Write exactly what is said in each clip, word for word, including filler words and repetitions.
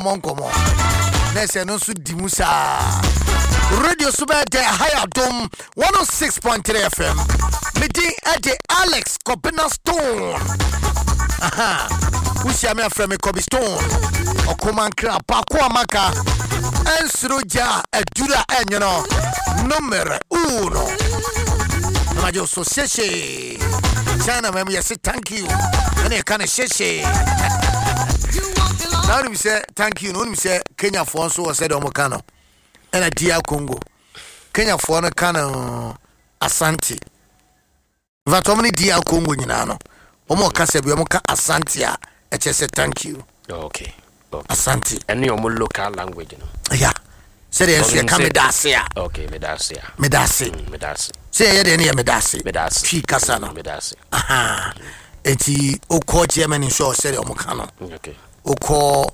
Yɛmmɔ nkɔmmɔ na ɛsɛ no nso di mu saa. Radio so bɛyɛ dɛ ha yɛ Adom one oh six point three F M. Medin ɛde Alex Kɔbena Stone. Aha, wohyia me afrɛ me Kɔbi Stone, ɔkomankra baako a maka ɛnsoro gya a aduru a ɛnwono numero uno na magye wo so. Hyehye China mam, yɛse thank you ɛne yɛka no hyehye. Na wonim sɛ thank you no, wonim sɛ Kenyafoɔ nso wɔ sɛdeɛ ɔmo no ɛna D R Congo, Kenyafoɔ no ka no asante. In fact, ɔmo ne D R Congo nyinaa no, ɔmo ɔkasa bi, ɔmo ka asante a ɛkyɛ sɛ thank you. okay okay Asante. Ɛne ɔmo local language no. Ya, sɛdeɛ nso yɛka meda ase a. Okay, meda ase a. Meda ase. Mm, meda ase. Sɛ yɛyɛ deɛ ne yɛ meda ase. Meda ase. Twi kasa no. Mm, meda ase. Aha, eti wokɔ Germany nso a, sɛdeɛ ɔmo ka no. Okay wokɔ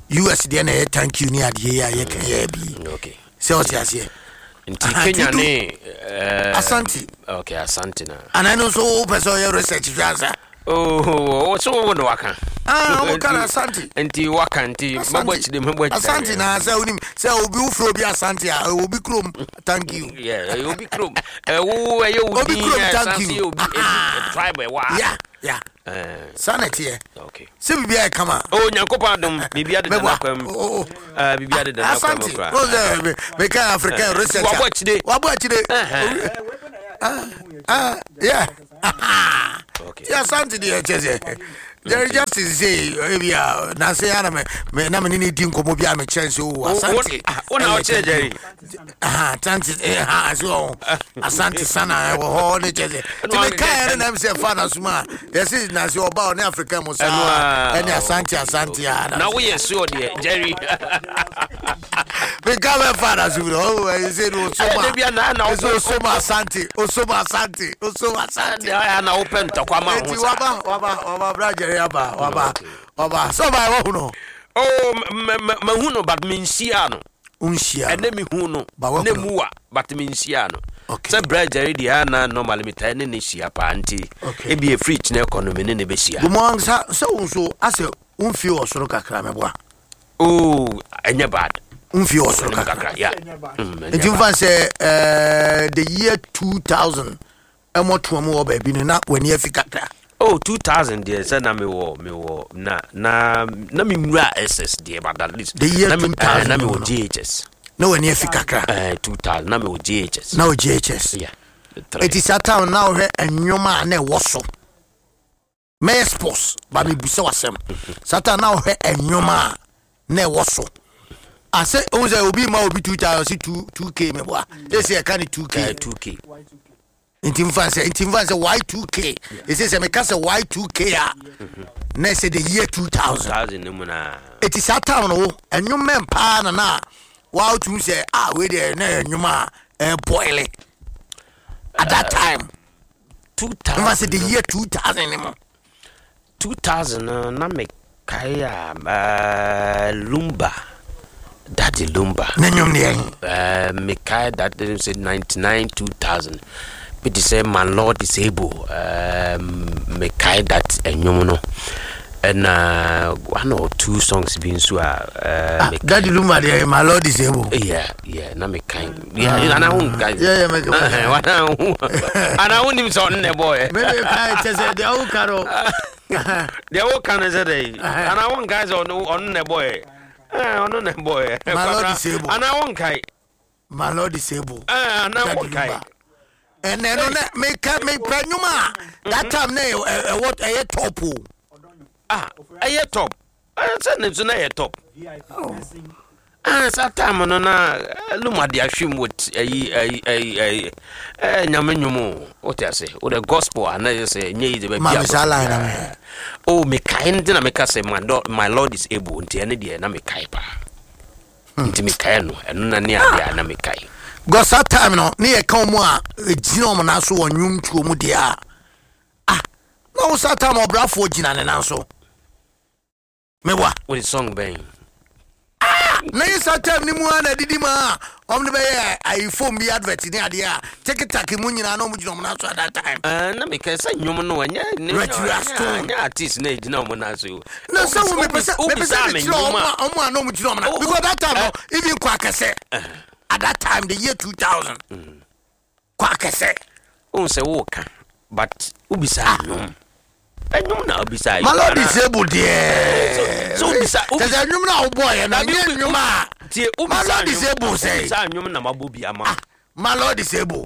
U S deɛ na ɛyɛ thank you ne adeɛ yi a yɛka yɛ bi. Okay sɛ ɔte aseɛ. Nti Aha, Kenya nti du- ne eh, Asante. Okay, asante na. Anaa no nso wopɛ sɛ ɔyɛ research hwɛ ansa? Oh, so wo na waka. Ah, ɔmo ka no asante. Nti waka, nti mɛbɔ akyire, mɛbɔ akyire. Asante na sɛ wonim sɛ obi wofrɛ obi asante a, ɛwɔ obi kurom, thank you. Yeah, ɛyɛ obi kurom. Ɛwo ɛyɛ wo Obi din kurom, ɛ, thank san you. sɛ obi ebi tribe ɛwɔ ha. Ya ya Eh, saa na ɛteɛ. Okay sɛ biribiaa yɛ kama. Oh, Nyankopɔn adom, biribi adeda Mɛboa. n'akwan mu. Oh, oh. Eh, biribi adeda n'akwan mu Asante koraa. wo sɛ me- meka African research a- Wabɔ akyire. Wabɔ akyire. Ɛhɛn. Ah, yeah. Okay ti asante deɛ, kyɛ sɛ Jerry Justice sɛ ebi a nanse ya na me me na me ne ne di nkɔmmɔ bi a mekyerɛ sɛ o asante. Ah, wo na ɛyɛ wokyerɛ Jerry? Aha, asante, eh, ha ase wɔ asante sana ɛwɔ hɔ ne kyɛ sɛ nti Ɛno meka yɛ ne nam sɛ fa na soma a yɛse nanse ɔba ɔne Africa mu Ɛno saa a- ɛne asante asante a. Na woyɛ sure deɛ, Jerry? Meka bɛfa na so bi ɔ ɛyɛ sɛ ne Ɛyɛ da bia na- na osoma wo- osoma asante, osoma asante, osoma asante. Ɛdeɛ na wopɛ ntɔkwa ma ho Eti saa. waba, waba, waba, bra Jerry aba, waba. Okay. Waba sɛ ɔba ɛwɔ hu no. Oh, m- m- mahu no but menhyia no. Nhyia. Ɛnɛ mehu no. Ba wahu Ne no. mu wa, but menhyia no. Okay. Sɛ brɛ Jerry deɛ, ana normally metae ne ne hyia paa, nti Okay. ebi ɛfiri kyinɛ kɔ no, me ne ne bɛhyia. Gumɔ sa sɛ wo nso asɛ womfie wɔ soro kakra, mɛboa? Oh, ɛnyɛ bad. Womfie wɔ soro Ɛnyɛ kakra. kakra, yeah. Mm, ɛnyɛ Nti bad. mfa sɛ eh, the year two thousand ɛmɔtoa mu wɔ baabi no na w'ani afi kakra. Oh, two thousand deɛ, sɛ na mewɔ mewɔ na na na menwura S S deɛ, but at least The year na me- two thousand eh, na mewɔ no. J H S. Na w'ani afi kakra. eh, two thousand na mewɔ J H S. Na wɔ J H S. Yeah. Three. Ɛti saa town na wohwɛ ɛnwom a na ɛwɔ so, mɛyɛ sports ba mebusa w'asɛm. Saa time na wohwɛ ɛnwom a na ɛwɔ so asɛ wohu sɛ obi ma obi two thousand si two two k, mɛboa ɛsɛ yɛka ne two k. Eh, two K. Nti mfa sɛ nti mfa sɛ Y two K, ɛsɛ sɛ meka sɛ Y two K a, na ɛsɛ the year two thousand. two thousand no mu na. Ɛti saa time no wo ɛnwom mɛn paa na na woawotum sɛ ah, wei deɛ na ɛyɛ nnwom a ɛbɔile at that time. two thousand. Mfa sɛ the year two thousand ne mu. two thousand no na mekae a, uh, Lumba, Daddy Lumba. Ne nnwom ne yɛn. uh, mekae that sɛ ninety-nine two thousand bi te sɛ My Lord Is Able. um, mekae that ɛnwom no, ɛna one or two songs bi nso a uh, Ah, Daddy Lumba deɛ, My Lord Is Able. yeah yeah na mekae, yeah, ana wo nkae? Yeah, yeah, meka- ana wo ana wonim sɛ ɔno na ɛbɔɔyɛ? Meme kae kyɛ sɛ deɛ woka no. Deɛ woka no sɛ dɛ ana wonkae sɛ ɔno ɔno na ɛbɔɔyɛ? Eh, ɔno na ɛbɔɔyɛ. My Lord Is Able. Ana wonkae? My Lord Is Able. Eh, ana Daddy wonkae? Lumba ɛnɛ no na meka mepɛ nnwom a that time na ɛyɛ ɛwɔ ɛyɛ top o. Ah, ɛyɛ top. Eh, sɛ ne nso na ɛyɛ top. Ah, saa time no na eh, Lumba de ahwem wɔ t- ɛyi ɛyi ɛyi ɛyi ɛɛ Nyame nnwom o, wote ase, wo the gospel ana yɛ sɛ nyɛ yi de bɛ Ma me saa line na me. Oh, mekae nti na meka sɛ my Lord, my Lord Is Able, nti ɛne deɛ na mekae paa, nti mekae no, ɛno na ne adeɛ a na mekae. Because that time no ne yɛka ɔmo a ɛgyina ɔmo nan so wɔ nnwomtuo mu deɛ a, ah, na wo saa time ɔbrafoɔ gyina ne nan so, meboa? Wode song bɛn? Na yɛ saa time ni mu a na didi mu a ɔmo de bɛyɛ ayi phone bi advert ne adeɛ a tiktok mu nyinaa na ɔmo gyina ɔmo nan so at that time. Ah, na meka sɛ nnwom no ɛnyɛ ne- Retired Stone. Ɛnyɛ artist na ɛgyina ɔmo nan so. Na sɛ wo mepɛ sɛ mepɛ sɛ Wobisa me mekyerɛ ɔmo nnwom a a ɔmo a na ɔmo gyina ɔmo nan Oh, because that time no, eh. even kɔ akɛsɛ at that time, the year two thousand, kɔ akɛsɛ. Wohu sɛ woka, but wobisa nnwom, ɛnwom na wobisa. Malɔ disable deɛ. So wobisa- kyɛ sɛ nnwom no a wobɔɔyɛ no Dabi, ɛnyɛ wobi- nnwom a tie, wobisa Malɔ nnwom- disable sɛ wobisa nnwom na mabɔ bi ama wo. Malɔ disable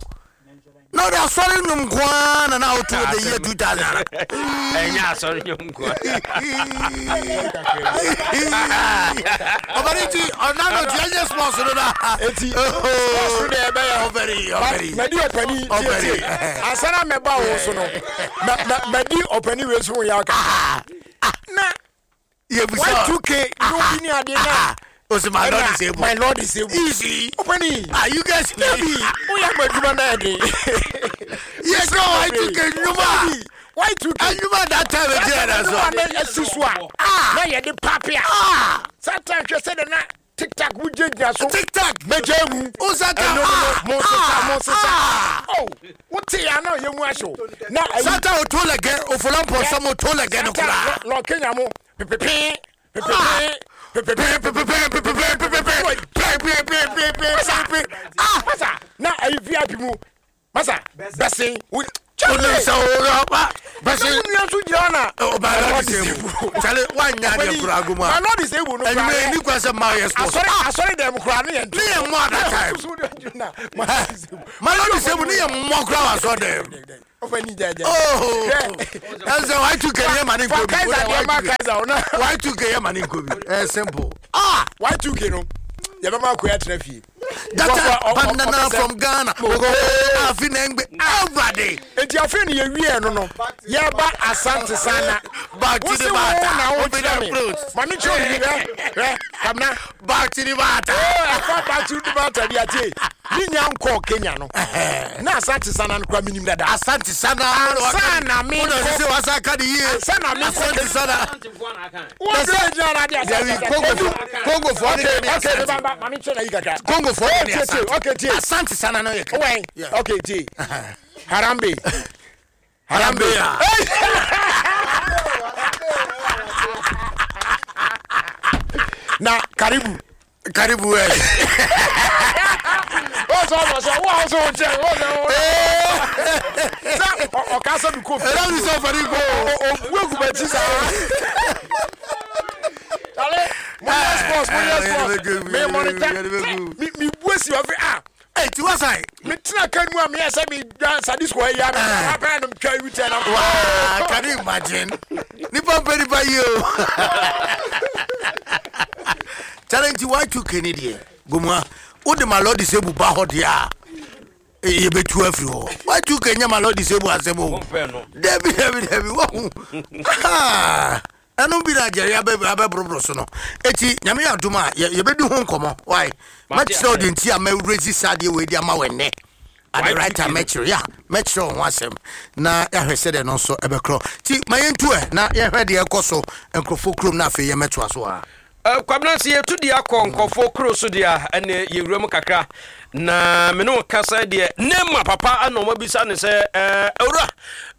na ɔde asɔre nnwom nko ara na na woto the year two thousand. Ɛnyɛ asɔre nnwom nkoa. Ɔbɛne nti ɔna no nti ɛnyɛ sports no na. Eti, sports no deɛ ɛbɛyɛ. Ɔbɛri ɔbɛri. Madi ɔpani. Ɔbɛri. Tietie, ansa na mɛba wo so no, mɛ- mɛ- madi ɔpani wei so wo yɛ aka na yɛbusa Y two K no bi ne adeɛ na osi my Lord is ɛna able. My Lord is able. Easy. Ɔpani. Ah, you guys. Dabi, woyɛ ma adwuma no ɛde. Yes, no Y two K nnwom a Y two K ɛnwom a that time ɛgyina na so. na asi so a na yɛde pape a ah satan hwɛ sɛ de na tiktok wogyinagyina so. Tiktok. Mɛgya mu. O satan. Ɛno no ah no, mo nsesa, mo nsesa. Ah oh, wote ya na ɔyɛ mu ahyew na ayi. Satan oto lɛgɛ ofola mpɔnsɛm oto lɛgɛ no koraa. Lɔ kenya mo pepepe pepepe pepepe. Ah. Masa, na ayi V I P mu masa bɛsen wo. Onim sɛ ɔba bɛsi. Na wo nua nso gyina hɔ na My Lord is able. Charlie, wanya adeɛ kura agu mu My a Lord is able no ɛnwuma koraa. ni kwan sɛ maa yɛ sports. Asɔre asɔre dɛm koraa ne yɛ nto. Ne yɛ mmɔ at that time. My Lord is able ne yɛ mmɔ kura wa sɔ dɛm. Ɔfɛ ni jɛjɛ. Oh, ɛsɛ Y two K yɛ ma ne Fa nko bi. Kaiser deɛ ma Kaiser o na. Y two K yɛ ma ne nko bi, ɛ simple ah. Y two K no yɛbɛma akoya tena fie. Data banana from Ghana afi na ngbe awurade. Eti afei ne yɛwie no no yɛba Asante Sana. Back to Wosi the wo matter. na wo Open kyerɛ up me fruits. ma me kyerɛ obi hwɛ hwɛ kamna. Back to the matter. Ɛfa back to the matter bi atie ne nya nkɔɔ Kenya no na Asante Sana no kora menim dada. Asante Sana. Ansa na me wona nkɔ- sɛ wasa ka de yie. Ansa na me nkɔ- Asante Sana. Wɔn gyina na ade. Dabi, Congo Congo fo ne Okay. ne Okay. Asante. Baba, ma me kyerɛ na yi kakra. Congo fo ne tie, tie, Asante. okay, tie. Asante Sana no yɛ ka. Wɛn? Yeah. Okay, tie, Harambe. Harambe a. Na karibu. Karibu ɛ. Wọ́n sọ wọ́n sọ wọ́n sọ wọ́n kyerɛ wọ́n sọ wọ́n sɛ ɔ- ɔka sɛ mi kɔ fie. Ɛdá mi sɔ fari ko. Obu egu bɛ ti saa. Chale, mo yɛ sports, mo yɛ sports, mi monitor mi mi bu esi wɔ fi ah. Ɛ ti wa san. Mi tena kan mu a mi yɛ sɛ mi da sadisco yɛ ya mi apɛ no twa iwi tɛ na. Waa, can you imagine? Nipa mpɛ nipa yie o. Challenge Y two K ni deɛ gomua o de ma lord disabled ba hɔ deɛ a yɛbɛtu afiri hɔ. Y two K nyɛ ma lord disabled asɛm o. Wompɛ no. Dabi dabi dabi, wahu ɛno bi na agyɛre abɛborɔborɔ so no, eti Nyame yɛ adom a yɛ- yɛbɛdi ho nkɔmmɔ wae. Mate. Mɛkyerɛ wo de nti a mɛwurɛsi saa deɛ wei de ama wɔ nnɛ at the right time. Mɛkyerɛ ya, mɛkyerɛ wo ho asɛm na yɛahwɛ sɛdeɛ no nso ɛbɛkorɔ, nti ma yɛntu ɛ na yɛhwɛ deɛ ɛkɔ so nkurɔfoɔ kurom na afei yɛmɛtoa so a. Eh, kwabena sɛ yɛtu deɛ akɔ nkɔfoɔ kuro so deɛ a ɛne yɛwura mu kakra na me ne wo kasa deɛ Nema papa ana ɔmabisa ne sɛ eh, owura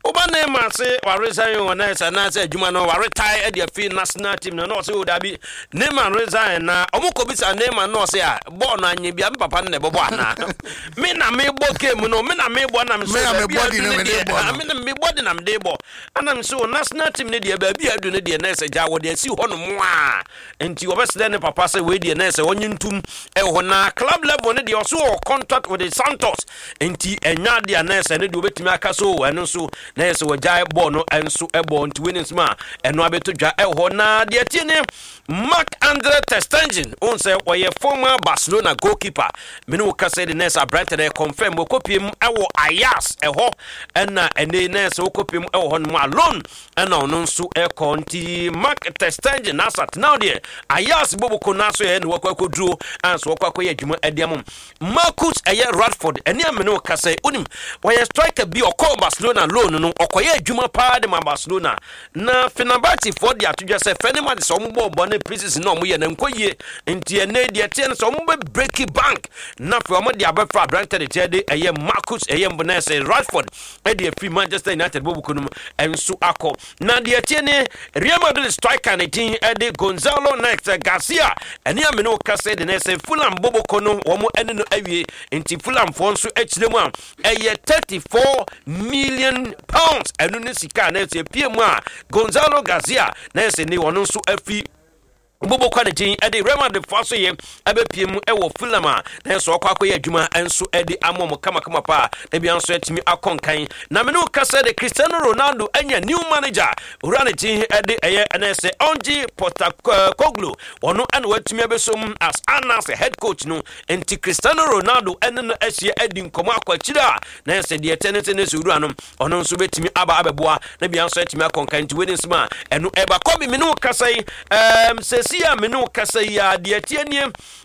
woba Nema se waresign wɔ na ɛsɛ anaasɛ adwuma no waretae de afi national team no na ɔsɛ o dabi, Nema resign na ɔmo kɔbisa Nema na ɔsɛ a bɔɔl no anyɛ bia me papa no na ɛbɛbɔ anaa me na mebɔ game no, me na mebɔ na Me na mebɔ di no, me de bɔ no. Me na mebɔ de na mede bɔ anam sɛ o national team no deɛ baabi a adu no deɛ na ɛsɛ gya wɔde asi hɔ nom a nti wɔbɛsrɛ ne papa sɛ wei deɛ na ɛsɛ ɔnye ntom ɛwɔ hɔ na club level no deɛ ɔso wɔ contract with the Santos nti ɛnya adeɛ a na ɛsɛ ne deɛ wɔbɛtumi aka so ɛno nso na ɛsɛ wɔgyae bɔɔl no ɛnso ɛbɔ. Nti wei ne nsɛm a ɛno abɛto dwa ɛwɔ hɔ. Na deɛ tie ne Marc Andre ter Stegen wohu sɛ ɔyɛ former Barcelona goalkeeper, mene wo kasa de nɛsɛ aberante no confirm wɔkɔpie mu ɛwɔ Ajax ɛhɔ ɛna ɛne nɛsɛ wɔkɔpie mu ɛwɔ hɔ no mu alone ɛna ɔno nso ɛkɔ. Nti Marc ter Stegen asat now deɛ Ajax boboko no aso yɛ ne wɔkɔ akɔduro anso wɔkɔ akɔyɛ adwuma ɛde ama Marcus ɛyɛ Rashford. Ɛne amene wo kasa, wonim wɔyɛ striker bi, ɔkɔɔ Barcelona loan no, ɔkɔyɛ adwuma paa de ma Barcelona, na Fenerbahcefoɔ de ato dwa sɛ Fenerbahce sɛ ɔmo bɔɔ bɔ ne preseason na ɔmo yɛ no nkɔ yie, nti ɛnɛ deɛ teɛ no sɛ ɔmo bɛ break bank na afei ɔmo de abɛfa aberantɛ de teɛ de ɛyɛ Marcus ɛyɛ mbɔ sɛ Rashford ɛde afiri Manchester United bɔbuku no mu ɛnso akɔ. Na deɛ teɛ ne Real Madrid striker ne din ɛde Gonzalo next Garcia. Ɛne amene wo kasa de ne sɛ Fulham bɔbɔkɔ no, wɔn ɛne no awie, nti Fulhamfoɔ nso akyerɛ mu a ɛyɛ thirty-four million pounds. Ɛno ne sika na ɛsɛ pie mu a Gonzalo Garcia na ɛsɛ ne ɔno nso afi bobo kwa ne din ɛde Real Madrid foɔ so yɛ ɛbɛpie mu ɛwɔ Fulham a na nso ɔkɔ akɔyɛ adwuma nso ɛde ama mo kamakama paa na bia nso atumi akɔ nkan. Na mene wo kasa de, Cristiano Ronaldo anya new manager. Owura ne din ɛde ɛyɛ ɛnɛ sɛ Ange Postecoglou. Ɔno ɛna watumi abɛsom as anas head coach no, nti Cristiano Ronaldo ɛne no ahyia adi nkɔmmɔ akɔ akyire a na ɛsɛ deɛ ɛtɛ ne sɛ ne sɛ owura no ɔno nso bɛtumi aba abɛboa na bia nso atumi akɔ nkan. Nti wei ne nsɛm a ɛno ɛba kɔbi. Mene wo kasa yi, ɛɛm sɛsi a mene wo kasa yi a, deɛ tie nie,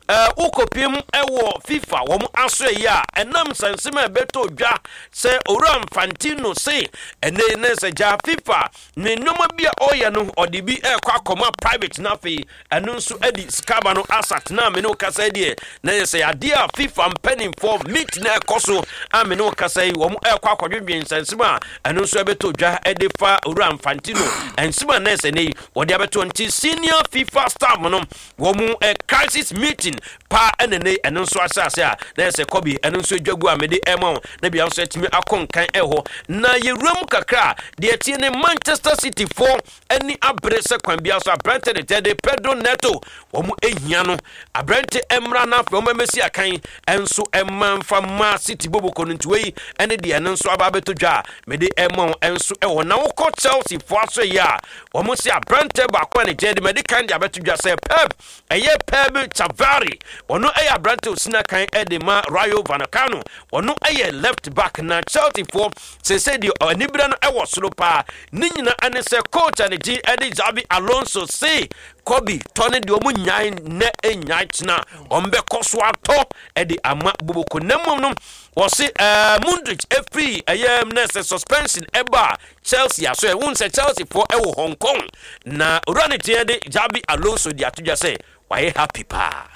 ɛɛ wokɔpiem ɛwɔ FIFA wɔn aso yi a, ɛnam nsɛnsɛm a ɛbɛtɔ dwa sɛ owura Infantino se ɛnɛ ne sɛ gya FIFA ne nneɛma bi a ɔreyɛ no, ɔde bi ɛrekɔ akɔma private, na afei ɛno nso ɛde sika ba no asatena. Mene wo kasa yi deɛ, na yɛ sɛ adeɛ a FIFA mpanimfoɔ meet na ɛkɔ so a mene wo kasa yi, wɔn ɛrekɔ akɔdwedwe nsɛnsɛm a ɛno nso ɛbɛtɔ dwa ɛde fa owura Infantino nsɛm a na ɛsɛ ne yi wɔde abɛtɔ. Nti senior FIFA staff no wɔn ɛ crisis meeting paa ɛna ne ɛno nso ahyɛ ase a na ɛsɛ kɔbi ɛno nso adwa gu a mede ɛma wo na bia nso atumi akɔ nkan ɛhɔ. Na yɛwura mu kakra a, deɛ tie ne Manchester City foɔ ani abere sɛ kwan bia so aberante de tɛ de Pedro Neto, wɔn ehia no aberante mmra na afei wɔn mmɛsi akan ɛnso ɛma nfa ma City boboko no. Nti wei ɛne deɛ ɛno nso aba abɛtɔ dwa a mede ɛma wo ɛnso ɛwɔ. Na wokɔ Chelsea foɔ aso yi a, wɔn si aberante baako a ne gyɛn de mɛde kan de abɛto dwa sɛ Pep ɛyɛ Pep Chavarri. Ɔno ɛyɛ aberante osina kan ɛde ma Rayo Vallecano. Ɔno ɛyɛ left back, na Chelsea foɔ sese deɛ anibere no ɛwɔ soro paa. Ne nyinaa ɛne sɛ coach a ne gye ɛde Xabi Alonso se Kobe tɔ ne deɛ ɔmo nyae nnɛ nyae kyena, ɔmo bɛkɔ so atɔ ɛde ama boboko. Na mmom no wɔse ɛɛ Mudryk efiri ɛyɛ nɛsɛ suspension ɛba Chelsea aso. Ɛwɔ sɛ Chelsea foɔ ɛwɔ Hong Kong na owura ne teɛ de Xabi Alonso de ato dwa sɛ wayɛ happy paa.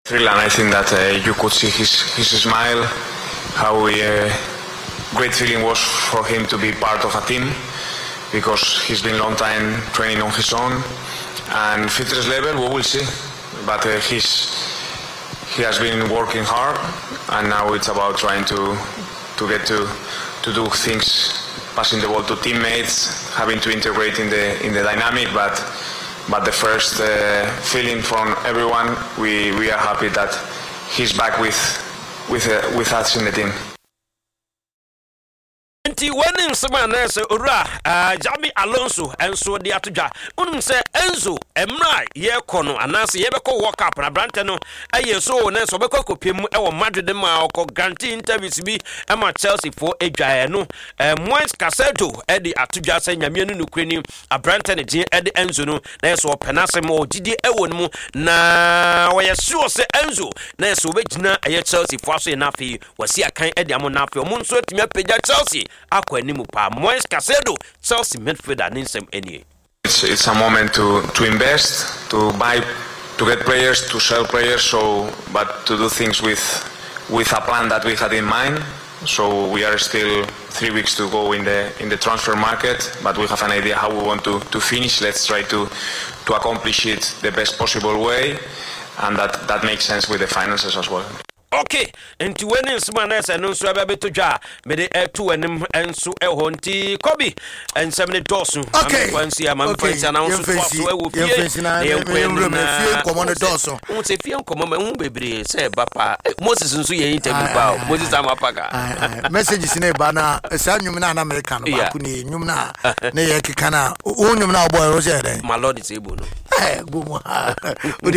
Thrill, and I think that uh, you could see his, his smile, how uh, great feeling was for him to be part of a team, because he's been long time training on his own. And fitness level, we will see, but uh, he's he has been working hard, and now it's about trying to to get to to do things, passing the ball to teammates, having to integrate in the in the dynamic, but but the first uh, feeling from everyone, we, we are happy that he's back with with uh, with us in the team. Nti wɔne nsɛm a na sɛ owura uh, Xabi Alonso nso de ato dwa. Wonim sɛ Enzo, mmerɛ a yɛrekɔ no anaasɛ yɛbɛkɔ World Cup na aberantɛ no ɛyɛ so na sɛ ɔbɛkɔ akɔpie mu ɛwɔ Madrid ma ɔkɔ grant interviews bi ma Chelsea foɔ adwaeɛ no, uh, Moises Caicedo ɛde ato dwa sɛ Nyameɛ no nokorɛ ni, aberantɛ ne gye ɛde Enzo no na yɛ sɛ ɔpɛ n'asɛm, ɔgyidie ɛwɔ no mu, na ɔyɛ sure sɛ Enzo na yɛ sɛ ɔbɛgyina ɛyɛ Chelsea foɔ aso yɛ no, afei wɔsi akan ɛde amo no, afei ɔmo nso atumi apagya Chelsea akɔ anim paa. Moises Caicedo, Chelsea midfielder, ne nsɛm nie. It's, it's a moment to, to invest, to buy, to get players, to sell players, so but to do things with with a plan that we had in mind. So we are still three weeks to go in the in the transfer market, but we have an idea how we want to, to finish. Let's try to to accomplish it the best possible way, and that, that makes sense with the finances as well. Okay, nti wei ne nsɛm a na ɛsɛ no nso ɛbɛbɛtɔ dwa a mede ɛto anim nso ɛwɔ. Nti kɔbi nsɛm ne dɔɔso. Okay. Mamfa nsi a mamfa nsi anaa nso toa so ɛwɔ fie. Yɛmfa nsi na yɛnkɔ yɛnwura anim. mu. Na Fie nkɔmmɔ no dɔɔso. Wohu sɛ fie nkɔmmɔ ma ɛho bebree sɛ ɛba paa. Eh, Moses nso yɛ interview paa o. Moses Amapaka. Aye, aye. Messages ne ba na saa nnwom no a na meka no Yeah. baako ne nnwom no a ne yɛ keka no a, wo nnwom no a wobɔɛ wo sɛ yɛ dɛn? My Lord is able no. Eh, bɔ mu ha. Wode